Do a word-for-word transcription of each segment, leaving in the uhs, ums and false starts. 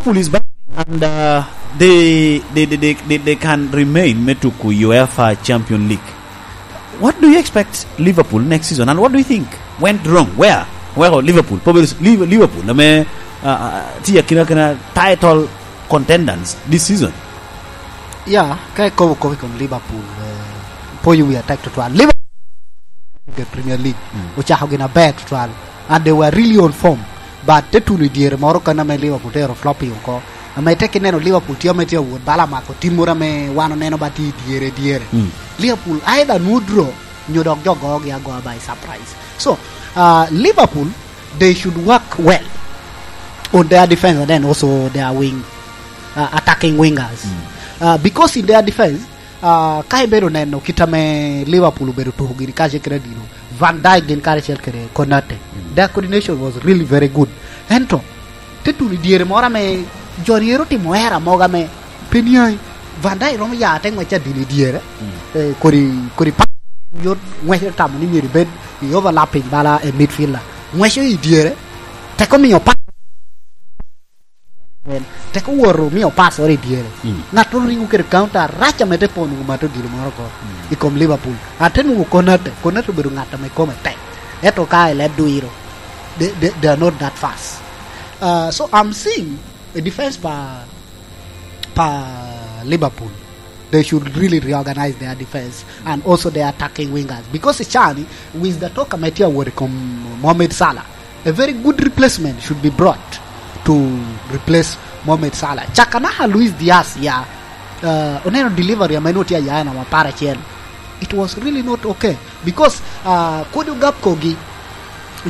Liverpool is battling and, uh, they, they, they, they, they, they can remain me tuku UEFA Champion League. What do you expect Liverpool next season, and what do you think went wrong? Where? Where Liverpool? Probably Liv-, Liverpool, ame, uh, uh, tye akina, akina title contenders this season. Yeah, ka ikobo kop i kom Liverpool, eh, pwonyo wi atek tutwal. Liverpool i Premier League, mm, ocako gin aber tutwal, and they were really on form. But te tuno i dyere moro kan ame Liverpool te ero flop i oko. Ame tek ineno Liverpool tye ame tye awot bala mako tim moro ame wan oneno ba tye i dyere, dyere. Mm. Liverpool either nwoŋo draw nyo dok jo gogi agoa by surprise. So, uh, Liverpool, they should work well on their defense and then also their wing, uh, attacking wingers. Mm. Uh, because in their defense, uh, ka ibedo neno kit ame Liverpool obedo tuko gini kacel kede adino, Van Dijk gin karacel kede Konate, mm, their coordination was really very good. Ento, te tuno i dyere moro ame jo ryero timo era mogo ame pe niaŋ. Van Dijk romo ya te ŋwec adino i dyere, mm, eh, kodi, kodi pa-, yot ŋwec tamo ni myero ibed i overlapping bala i midfielder. Ŋweco i dyere, teko miyo pa-, teko woro miyo pass oro i dyere. Mm. Ŋattoro ringo kede counter rac ame te pono mato gino moro ko, mm, i kom Liverpool. Ate nwoŋo Konate, Konate obedo ŋat ame kome tek. Ento ka i leb dwiro, they, they, they are not that fast. Uh, so I'm seeing a defense pa, pa Liverpool. They should really reorganize their defense and also their attacking wingers. Because i cani, with the talk ame tye awot i kom Mohamed Salah, a very good replacement should be brought to replace Mohamed Salah. Caka naka Luis Diaz ya, uh, oneno delivery ame nwoŋo tye aya en amo apar acel. It was really not okay. Because, uh, kodi ogap kogi,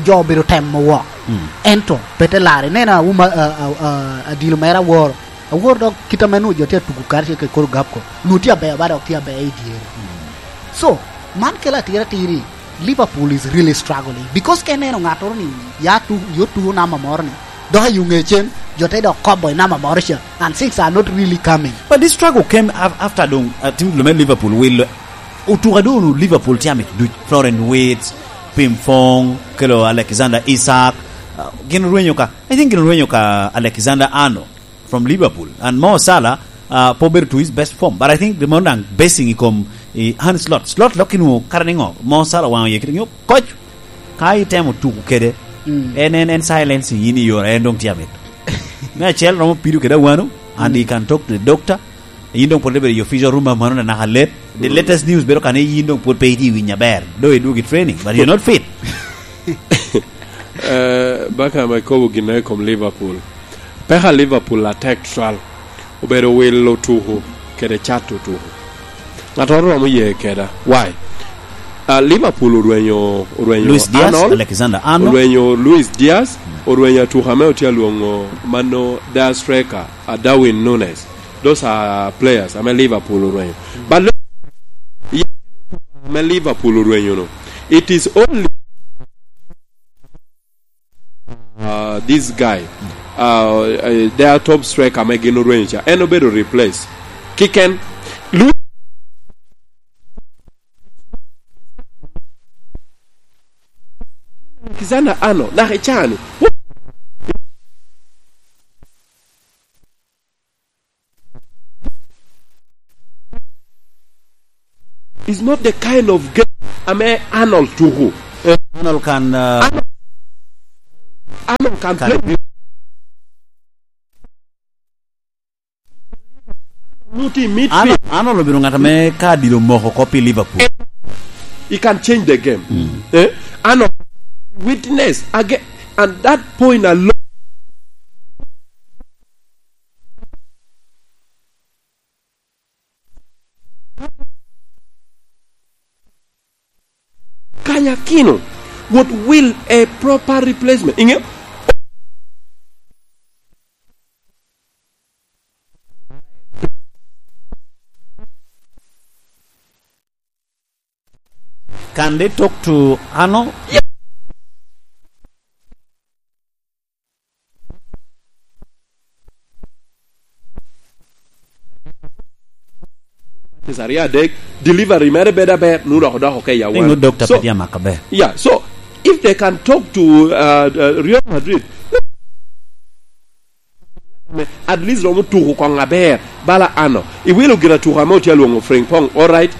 jo obedo temo wok. Mm. Ento, pe te lare. Nena, uma, uh, uh, uh, adilo mere aworo. Aworo dok kit ame nwoŋo jo tye atugo karacel kede kodi ogap ko. Nwoŋo tye aber, ba dok tye aber i dyere. Mm. So, man kelo atira atiri. Liverpool is really struggling. Because ka ineno ŋattoro ni, ya tu-, yo tuko namba moro ni, dok i ŋe cen, jo te dok kobo i namba moro ca. And things are not really coming. But this struggle came af-, after doŋ, uh, team lume Liverpool wilo. Otuka doŋ Liverpool tye amit duc. Florian Wirtz, Frimpong, kelo Alexander Isak. Uh, gin orwenyo ka, I think gin orwenyo ka Alexander Arnold from Liverpool. And Mo Salah, uh, po bedo to his best form. But I think the more than basing i kom i Arne Slot. Slot lok inwoŋo kara ni ŋo? Mo Salah waŋo ye kit nyo koc. Ka itemo tuko kede, mm, en, en, en silence yin i yore, en doŋ tye amit. Me acel romo pido kede awano, and, mm, he can talk to the doctor. Yin doŋ pwod ibedo i official room, mano na naka let. The, mm, latest news bedo ka ni yin doŋ pwod pe itye i winy aber. Do idwogo i training, but you're not fit. Eh, baka ma ikobo gin i kom Liverpool. Peka Liverpool atek twal. Obedo wilo tuku kede cato tuku. Ŋattoro romo ye keda. Why? Ah, Liverpool orwenyo, orwenyo Luis Diaz, Arnold, Alexander Arnold. Orwenyo Luis Diaz, mm, orwenyo atuka ame otye alwoŋo mano, their striker, a Darwin Nunez. Those are players ame Liverpool orwenyo. Mm. But lo-, ye-, ame Liverpool orwenyo no, it is only uh, this guy, uh, uh, their top striker ame gin orwenyo ca, en obedo replace. Kiken, lu-, Alexander Arnold, naka i cani. Is not the kind of game ame Arnold tuku. Eh, Arnold can, uh, Arnold, Arnold can can play. Nuti midfield. Arnold, Arnold obedo ŋat ame ka adilo moko oko pi Liverpool. He can change the game. Mm. Eh? Arnold witness again, and that point alone. Kanyakino, what will a proper replacement? Inge? Can they talk to Arnold? Matches aryo adek, delivery mere bedo aber, nu dok odoko ke i awan. Nut doctor pe tye amako aber. Yeah, so if they can talk to, uh, uh, Real Madrid, let At least romo tuko koŋ aber. Bala ano, iwilo gin atuko ame otye alwoŋo Frimpong, all right.